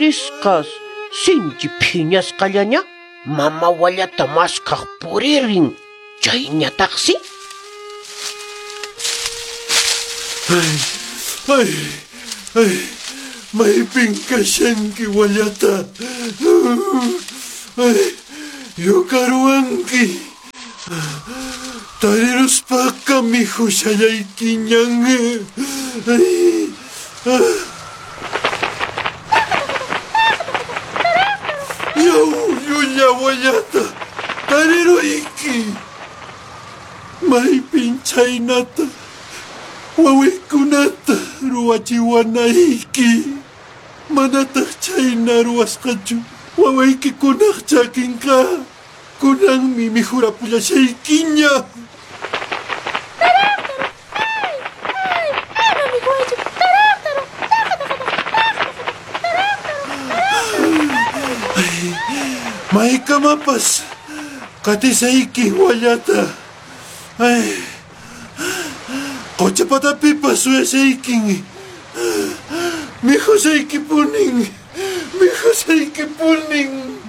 Risqas sinchi phiñasqallaña mama wallata maskhaq puririn. Chayñataqsi Ay, ay, ay, maypin kashanki wallata. Ay, yukaruwanki. Tariruspaqa mikhushallaykiñan. Ay, ah. Yaw, llulla wallata, tariruyki. Maypin chhaynata wawaykunata ruwachiwanayki. Manataq chhayna ruwasqachu wawaykikunaq chakinqa. Kunanmi mikhurapullasaykiña. Maykamapas qatisayki wallata. Ay, qocha patapipas suyasaykin. Mikhusaykipunin, mikhusaykipunin.